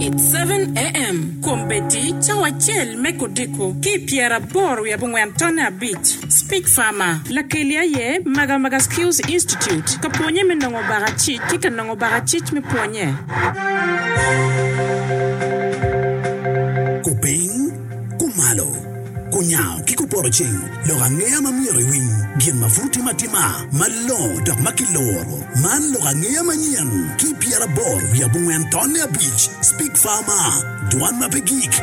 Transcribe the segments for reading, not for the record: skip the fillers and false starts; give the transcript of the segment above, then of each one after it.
It's 7am, Kombeddi cawa acel me kodiko ki i pyeraboro wiye abongwen tonne abic. Speech Farmer, Lakeli aye Magamaga Skills Institute ka pwonye me nongo bakacic ki ka nongo bakacic me pwonye. Kupiny, kumalo, kunyango ki kupoto ceng, lok angeya ma myero iwiny, gin ma pud timo atima, malongo dok ma kiloro. Man lok angeya manyen ki 84 tonne abic, Speak Farmer, dwan ma pe gik.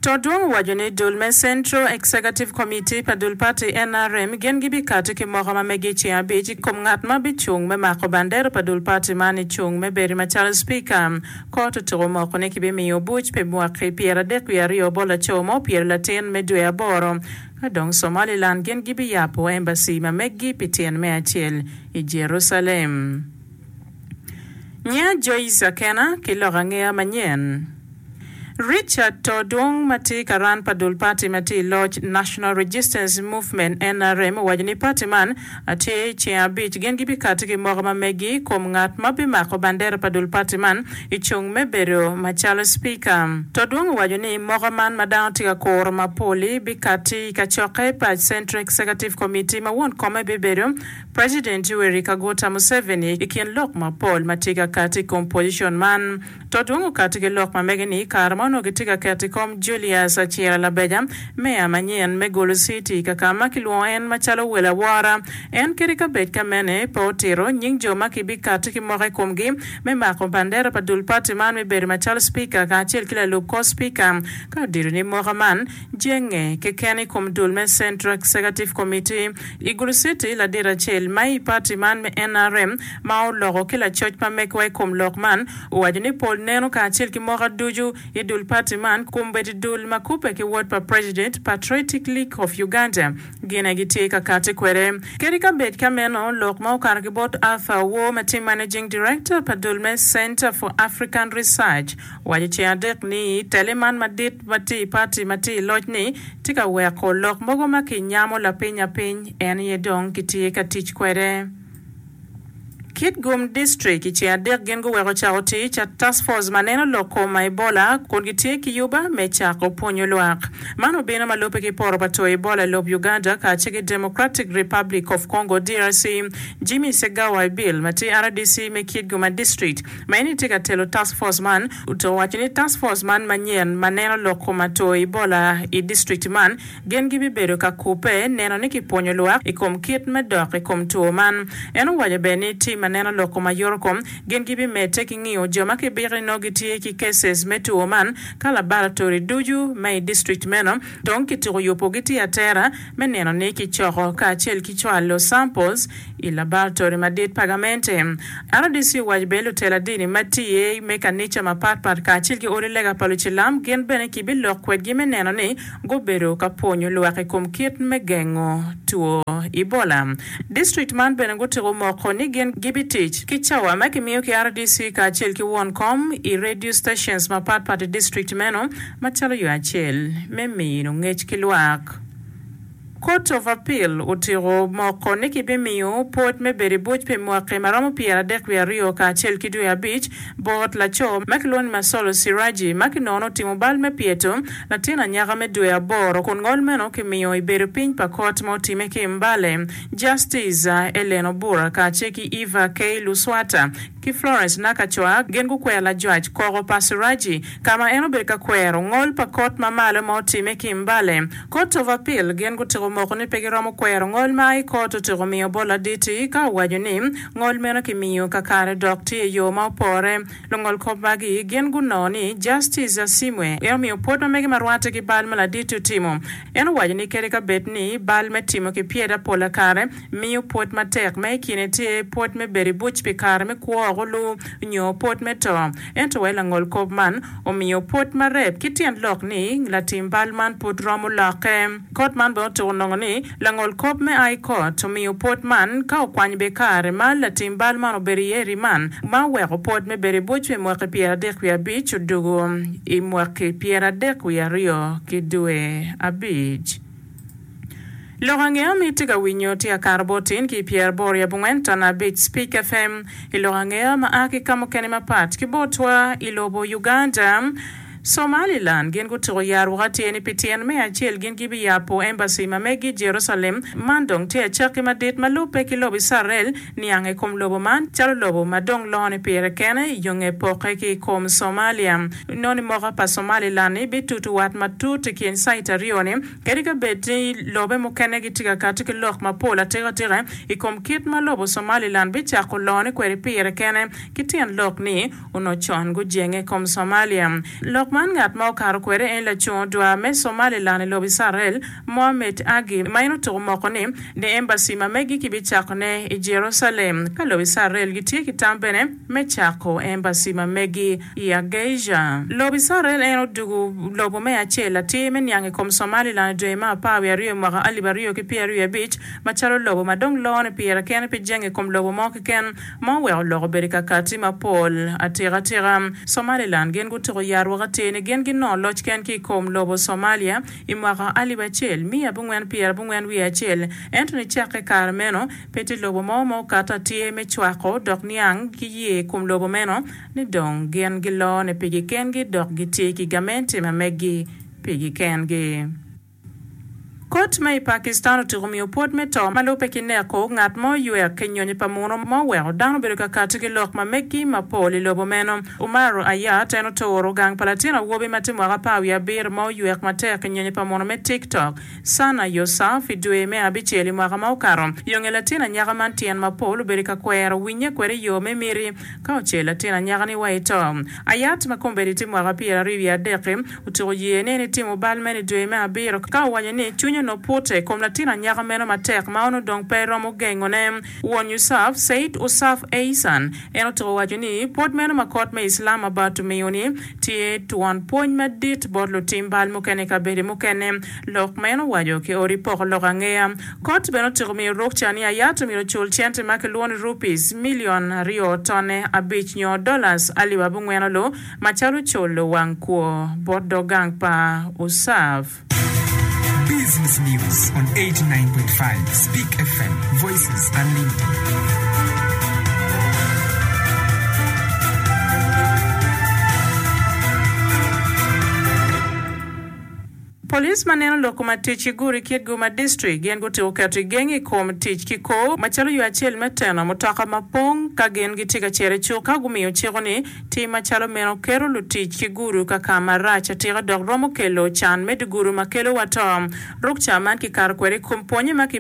Todwong owaco ni dul me Central Executive Committee pa dul party nrm gin gibikati ki moko ma megi i ceng abic i kom ngat ma bicung me mako bandera pa dul party man i cung me bedo macalo Speaker. Kot otuko moko ni kibimiyo buc pi mwaki 32 bot laco ma opyelo latin me dwe aboro ka dong Somaliland gin gibiyabo embassy ma meggi pi tyen me acel i Jerusalem. Nya Joyce Akena ki lok angeya manyen. Richard Todwong ma tye karan pa dul pati ma tye i loc National Registance Movement, nrm, owaco ni pati man tye i ceng abic gin gibikati ki moko ma megi i kom ngat ma bimako bandera pa dul pati man i cung me bedo macalo Speaker. Todwong owaco ni moko man ma dano tye ka kuro mapol-li bikati i kacokke pa Central Executive Committee ma won kome bibedo President Yoweri Kaguta Museveni i kin lok mapol ma tye ka kati i kom pocion man. Todwong okati ki lok ma mege ni i kare ma onongo kitye ka keto i kom Julius Acira Labeja, meya manyen me Gulu City ka ka ma kilwongo en macalo wel awora, en kadi ka bed ka mene pe otito nying jo ma kibikati ki moko i komgi me mako bandera pa dul pati man me bedo macalo Spika kacel ki lalub kor Spika ka odito ni moka man jenge keken i kom dul me Central Executive Committee i Gulu City. Ladit acel ma i pati man me nrm ma oloko ki lacoc ma megwa i kom lok man owaco ni pol neno kacel ki moka ducu i dul pati man kombeddi dul ma kubbe ki wot pa President Patriotic League of Uganda gin aye gitye ka kati kwede. Kadi ka bed ka meno, lok ma okato ki bot Arthur Owor ma tye Managing Director pa dul me Centre for African Research owaco ceng adek ni tele man madit ma tye i pati ma tye i loc ni tye ka weko lok mogo ma kinyamo lapiny apiny en aye dong kitye ka tic kwede. Kitgum District i ceng adek gin guweko cako tic Task Force ma neno lok kom Ebola kun gitye ki yuba me cako pwonyo lwak. Man obino ma lubbe ki poto pa two Ebola i lob Uganda kacel ki Democratic Republic of Congo, DRC. Jimmy Segawa Ebil ma tye RDC me Kitgum District ma en aye tye ka telo Task Force man owaco ni Task Force man manyen ma neno lok kom two Ebola i district man Gin gibibedo ka kubbe neno ni kipwonyo lwak i kom kit me dok i kom two man. En owaco bene ni tim ma neno lok kom ayotokom gin gibimedde ki ngiyo jo ma kibiko ni nongo gitye ki cases me two man ka labaratori ducu ma i district meno dong kituko yubo gitye atera me neno ni kicoko kacel ki cwalo samples i labaratori madit pa gamente. RDC owaco bene lutela dini ma tye me kanica mapat pat kacel ki odi lega pa lucilam gin bene kibilok kwedgi me neno ni gubedo ka pwonyo lwak i kom kit me gengo two Ebola. District man bene gutiko moko ni gin gibitic ki cawa ma kimiyo ki RDC kacel ki won kom i radio stations mapat pat i district meno macalo yo acel me mino ngec ki lwak. Court of Appeal otiko moko ni kibimiyo pwod me bedo i buc pi mwaki ma romo 32 kacel ki dwe abic bot laco ma kilwongo ni Masolo Siraji ma kinongo ni otimo bal me pyeto latin anyaka me dwe aboro kun ngol meno kimiyo i bedo piny pa kot ma otime ki i Mbale. Justice Ellen Obura kacel ki Eva K. Luswata ki Florence Nakachwa gin gukwero lajwac koko pa Siraji ka ma en obedo ka kwero ngol pa kot ma malo ma otime ki i Mbale. Court of Appeal gin gutiko moko ni pe giromo kwero ngol ma i kot otiko miyo bot ladit-ti ka owaco ni ngol meno kimiyo kakare dok tye i yo ma opore. Lungol kop magi gin gunongo ni Justice Asimwe en omiyo pwod ma mege ma rwatte ki bal ma ladit-ti otimo. En owaco ni kadi ka bed ni bal me timo kipyeda pola kare miyo pwod matek ma i kine tye pwod me bedo i buc pi kare me kwo olu nyo pwod me to, ento wai langol kop man omiyo pwod marep ki tyen lok ni latim bal man pud romo lokke. Kot man bene otuko nongo ni langol kop me High Court omiyo pwod man ka okwany be kare ma latim bal man obedo iye i riman ma oweko pwod me bedo i buc pi mwaki 35 odugo i mwaki 32 ki dwe abic. Lok angeya ma itye ka winyo tye akato bot tin ki i pyeraboro i abongwen ton abic Speak FM. I lok angeya ma a ki ka mukene mapat ki botwa i lobo Uganda, Somaliland gin gutuko yarwok atir ni pi tyen me acel gin gibiyabo embassy ma megi i Jerusalem. Man dong tye acakki madit ma lubbe ki lobo Icrael niang i kom lobo man calo lobo ma dong lone pire kene i yo nge pokke ki i kom Somalia. Noni moka pa Somaliland-ni bitutu wat matut i kin cite aryo-ni Kadi ka bed ni lobe mukene gitye ka kati ki lok mapol atikatika i kom kit ma lobo Somaliland bicako lone kwede pire kene ki tyen lok ni onongo con gujenge i kom Somalia. Lok man ngat ma okato kwede en lacung odwar me Somaliland i lobo Icrael, Mohamed Agi ma en otuko moko ni ni embassy ma megi kibicakone i Jerusalem ka lobo Icrael gitye ki tam bene me cako embassy ma megi i Hargeisa. Lobo Icrael en odugu lobo me acel atir me niang i kom Somaliland i dwe me apar wiye aryo i mwaka alip aryo ki pyeraryo abic macalo lobo ma dong lone pire kene pe jenge i kom lobo mo keken ma oweko lok obedo i kakati mapol atika tika. Somaliland gin gutuko yarwok atir ni gin ginongo loc ken ki i kom lobo Somalia i mwaka alip acel miya abongwen pyerabongwen wiye acel ento nicakke i kare meno Pe tye lobo mo ma okato atir me cwako dok niang ki ye i kom lobo meno ni dong gin gilone pigi kengi dok gitye ki gamente ma meggi pigi kengi. Kot ma i Pakistan otyeko miyo pwod me to ma lubbe ki neko ngat ma oywek ki nyonyo pa muno ma oweko dano obedo ka kati ki lok ma meggi mapol i lobo meno. Umar Ayat en oturo gang pa latin awobi ma tye mwaka apar wiye abiro ma oywek matek i nyonyo pa muno me TikTok. Sana Yousaf i dwe me abicel i mwaka ma okato. Yo nge latin anyaka man tyen mapol obedo ka kwero winye kwede i yo me miti ka ocel latin anyaka-ni wa i to. Ayat ma kombeddi tye mwaka pyeraryo wiye adek-ki otuko ye ni en etimo bal meno i dwe me abiro ka owaco ni cwinye onongo pute i kom latin anyaka meno matek ma onongo dong pe romo gengone. Won Yousaf, Syed Usaf Ehsan, en otuko waco ni pwod meno ma kot me Islamabad omiyo-ni tye twon pwony madit bot lutim bal mukene i kabedo mukene. Lok meno owaco ki odi poko lok angeya. Kot bene otyeko miyo rukca ni Ayat omyero ocul cente ma kilwongo ni rupees milion aryo tonne abic nyo dollars alip abongwen olu macalo culo wang kwo bot dog gang pa USAF. Business News on 89.5 Speak FM, Voices Unlimited. Police ma neno lok kom tic ki gure i kit Guma District gin gutyeko keto igeng i kom tic ki kor macalo yo acel me teno mutoka ma pong ka gin gitye ka cito i cuk ka gumiyo ciko ni tim macalo meno keto lutic ki gudo ka ka marac atika dok romo kelo can me dye gudo ma kelo wa to. Rukca man kikato kwede i kom pwonye ma ki.